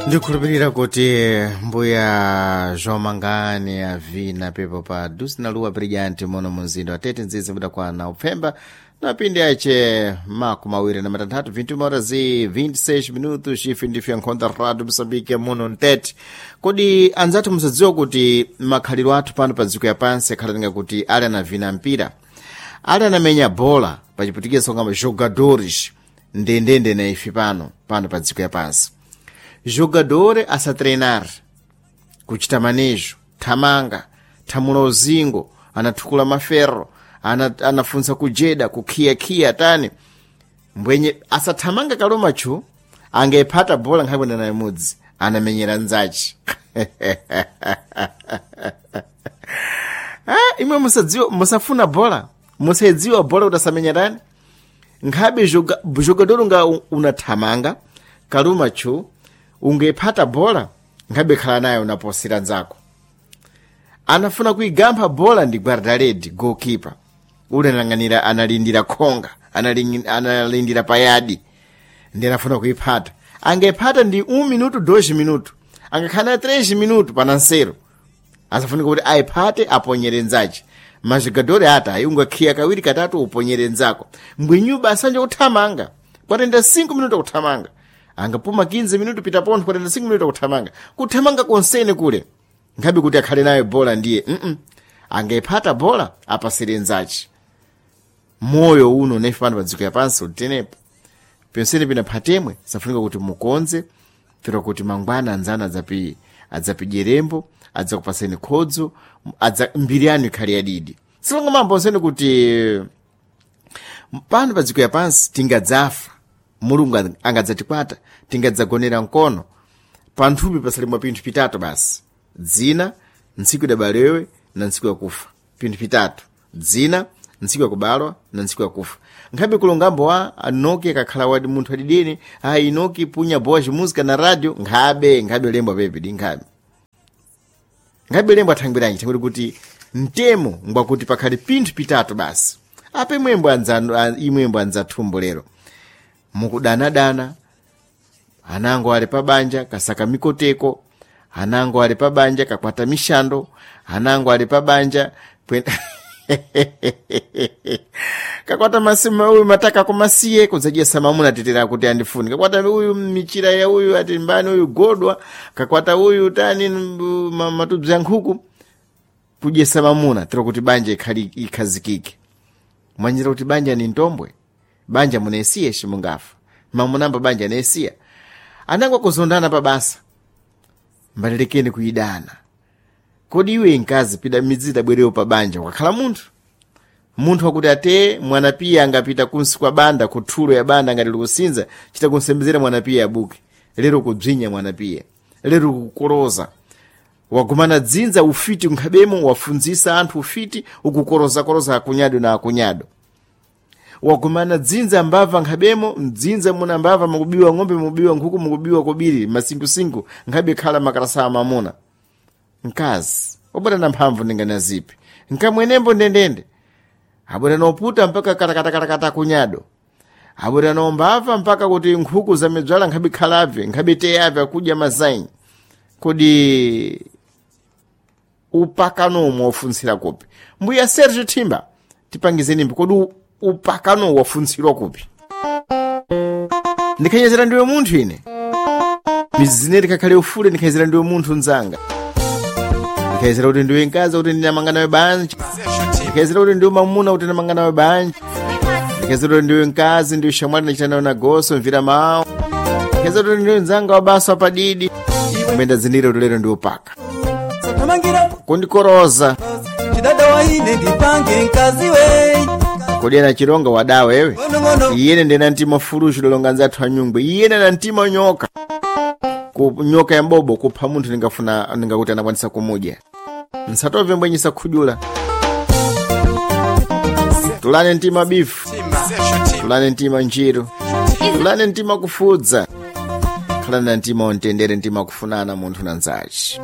Ndikhulupirira kuti mbuya zomangani avina pepo pa dusi na luwa brilliant muno munzinda wa tete nzizi mudakwana upfemba na pindi ache makumi awiri na matanthatu 21 horas e 26 minutos ife ndife nkhonda radio Moçambique muno mtete. Kodi anzathu musadziwa kuti makhaliro athu pano pa dziko yapansi akhalanenga kuti ali anavina mpira, ali anamenya bola pachiputikizo ngama jogadores ndendende na ife pano pano pa dziko yapansi. Jogador asa treinar, kuchita manejo, thamanga, thamula uzingo, anathukula maferro, anafunsa kujeda, kukhiyakiya tani mbwenye asathamanga kalomacho angephata bola nkhakwenda naye mudzi anamenyera nzachi. Ah, imwe musadziwa, musafuna bola, musadziwa bola kuti asamenya tani nkhabe jogador nga unathamanga kalumacho ungephata bola nkhabe khala naye unaposera nzako. Anafuna kuigampha bola ndi guardaredi goalkeeper ule analang'anira, analindira khonga, analindira payadi ndi anafuna kuiphata. Angephata ndi 1 minuto 2 minuto, angakhala 3 minuto panansero asafunika kuti ayiphate aponyere nzache. Majogadori ata ayungakhiya kawiri katatu uponyere nzako mbwinyuba asanje kuthamanga kwatenda 5 minuto kuthamanga, angapuma 15 minuto pita pontho kwatenda 5 minuto kuthamanga, kuthamanga konsene kule nkhabe kuti akhale nayo bola ndiye angephata bola apasire nzache. Moyo uno nefe pano pa dziko yapansi ulitenepo pensene pina phatemwe safunika kuti mukonze pera kuti mangwana anzana adzapidyerembo adzakupaseni khodzo, adza mbiri yanu ikhale yadidi. Silongo mambo onsene kuti pano pa dziko yapansi tingadzafa, Mulungu angadzatikwata, tingadzagonera mkono panthupi pasalimwa pinthu pitatu basi: dzina, ntsiku idabalewe na ntsiku yakufa. Pinthu pitatu: dzina, ntsiku yakubalwa na ntsiku yakufa. Nkhabe kulongambo wa Enoki akakhala wadi munthu adidini, a Enoki punya boa música na radio, nkhabe nkhabe lembo pepe di nkhabe nkhabe lembo athangwiranji thangwiri kuti mtemo ngwakuti pakhale pinthu pitatu basi. Ape mwembo anzanu imwembo anzathumbo lero mukudanadana, anango ali pabanja kasaka mikoteko, anango ali pabanja kakwata mishando, anango ali pabanja kakwata masima uyu mataka kumasiye kudzajesa mamuna tetera kuti andifuni, kakwata uyu michira ya uyu ati mbani uyu godwa, kakwata uyu tani matubzi ya nkhuku kudyesa mamuna tero kuti banja ikhazikike. Mwanjira kuti banja ni ntombwe, banja munesiye shimungafa mamunamba banja nesiya anangwa kuzondana pabasa mbalelekeni kuidana. Kodi iwe nkazi pida midzi idabwerewo pa banja ukakhala munthu munthu wakuti ate mwana piya angapita kunsi kwa banda kuthulo ya banda ngati likusinza chita kunsembezera mwana piya abuke lero kubzinya mwana piya lero kukoroza wagumana dzinza ufiti nkhabemo wafunzisa anthu ufiti ukukorozakoroza akunyado na akunyado wagumana dzinza mbava nkhabemo mdzinza muna mbava mukubiwa ng'ombe mukubiwa nkhuku mukubiwa kobiri masinkhusinku nkhabe khala makalasa amamuna. Mkazi wabwera na mphamvu ndingana zipi nkamwenembo ndendende abwera noputa mpaka katakatakatakata kunyado abwera nombava mpaka kuti nkhuku zamedzwala nkhabe khalabve nkhabe teyabve akudya mazaini. Kodi upakano wafuntsira kupi? Mbuya Sergio Thimba tipangizeni kodi upakano wafuntsirwa kupi? Ndikhanyezera ndiwe munthu ine mizine likakhale ufule, ndikhanyezera ndiwe munthu nzanga, ndikhanyezera kuti ndiwe mkazi kuti ndinamanga nawe banja, ndikhanyezera kuti ndiwe mamuna kuti ndinamanga nawe banja, ndikhanyezera kuti ndiwe mkazi ndiwe shamwali ndachita nawe nagoso mvira mawu, ndikhanyezera kuti ndiwe mzanga wa basa wapadidi kumene ndazindikira kuti lero ndiwe upaka kundikoroza chidada waine ndipange mkazi we kodi ana chilonga wadawa ewe iyene ndena mtima fulushi lolonga nzathu anyungwe iyene na mtima nyoka ku nyoka ya mbobo kupha munthu ndingafuna ndingakuti anakwanisa kumudya nsatove mbwenyisa khudula. Tulane mtima bifu, tulane mtima njiru, tulane mtima kufudza, khalani na mtima ontendere, mtima kufunana munthu na nzachi.